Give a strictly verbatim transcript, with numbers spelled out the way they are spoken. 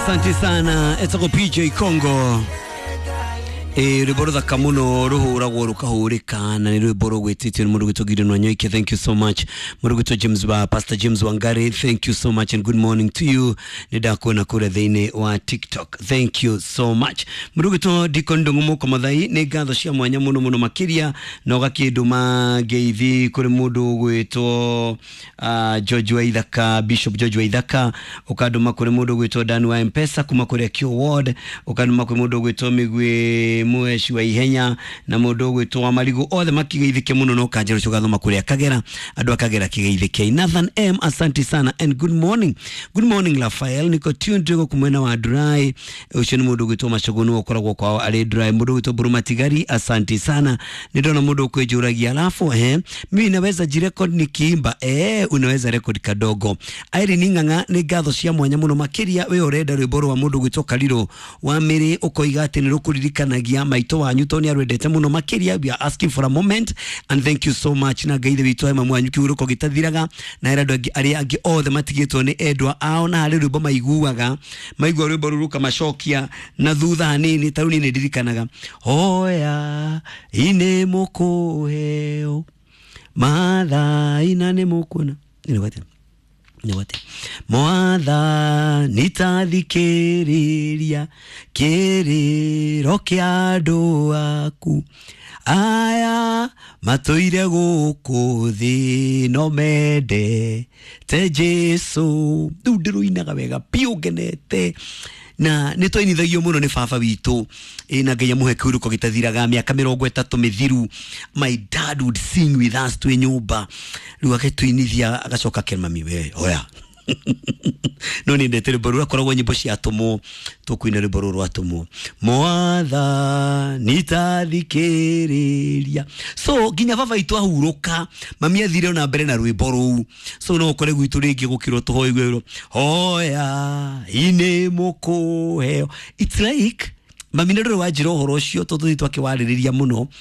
Asante sana etagwo P J Congo. Ĩ rwĩmbo rũthaka mũno rũhũragwo rũkahũrĩka, na nĩ rwĩmbo rũgwĩtĩtio nĩ mũndũ gwĩtwo Gideon Wanyoike. Thank you so much. Mũndũ gwĩtwo James wa Pastor James Wangari, thank you so much and good morning to you. Nĩ ndakuona kũrĩa thĩinĩ wa TikTok, thank you so much. Mũndũ gwĩtwo Deacon Ndung'u Mũko Mathai, nĩ ngatho cia mwanya mũno mũno makĩria, na ũgakĩndũma ngeithi kũrĩ mũndũ ũgwĩtwo uh, George Waithaka, Bishop George Waithaka, ũkandũma kũrĩ mũndũ ũgwĩtwo Dan wa Mpesa kuma kũrĩa Q Ward, ũkandũma kũrĩ mũndũ ũgwĩtwo Mĩgwĩ Mweci wa Ihenya na mũndũ ũgwĩtwo wa Marigũ, othe makigeithĩke mũno, no kanjĩra ũcio ũgathoma kũrĩa Kagera, andũ a Kagera kigeithĩke. Nathan M, asante sana and good morning. Good morning Rafael, niko tuned gũkũ mwena wa Durai. Ũcio nĩ mũndũ ũgwĩtwo Macũgũ, nĩwe ũkoragwo kwao arĩ Durai. Mũndũ ũgwĩtwo Mbũrũ Matigari, asante sana. Nĩ ndona mũndũ ũkwĩnjũragia alafu eh, mimi naweza jirecord nikiimba? Eh, unaweza record kadogo. Irene Ng'ang'a, nĩ ngatho cia mwanya mũno makĩria. We ũrenda rwĩmbo rwa mũndũ ũgwĩtwo Kariro wa Mĩrĩ, ũkoiga atĩ nĩ rũkũririkanagia maitũ wanyu tondũ nĩ arwendete mũno makĩria. We are asking for a moment and thank you so much, na Ngai ithe witũ he mwanyu kĩhurũko gĩtathiraga, na ĩra andũ angĩ arĩa angĩ othe matigĩtwo nĩ endwa ao, na harĩ rwĩmbo maiguaga, maigua rwĩmbo rũu rũkamacokia na thutha hanini. Ta rĩu niĩ nĩ ndirikanaga, hoya inĩ mũkũheo, mathaina nĩ mũkuona. Nĩ nĩgwate Mwathani tathikĩrĩria kĩrĩro kĩa andũ aku aya matũire gũkũ thĩ no mendete Jesu. Rĩu ndĩrũinaga wega biũ ngenete, na nĩ twainithagio mũno nĩ baba witũ. Ĩ na Ngai amũhe kĩhurũko gĩtathiraga. Mĩaka mĩrongo ĩtatũ mĩthiru, my dad would sing with us twĩ nyũmba. Rĩu agĩtũinithia, agacoka akera mami, "We oya." No nĩ ndete rwĩmbo rũu, akoragwo nyĩmbo cia atũmwo, tũkũina rwĩmbo rũrũ rwa atũmwo, Mwathani tathikĩrĩria. So nginya baba witũ ahurũka, mami athire ona mbere na rwĩmbo rũu. So no ũkore gwitũ rĩngĩ gũkĩrwo tũhoigwĩrwo hoya inĩ mũkũheo. It's like mami nĩ ndũrĩ wanjĩra ũhoro ũcio tondũ tũthiĩ twakĩwarĩrĩria mũno.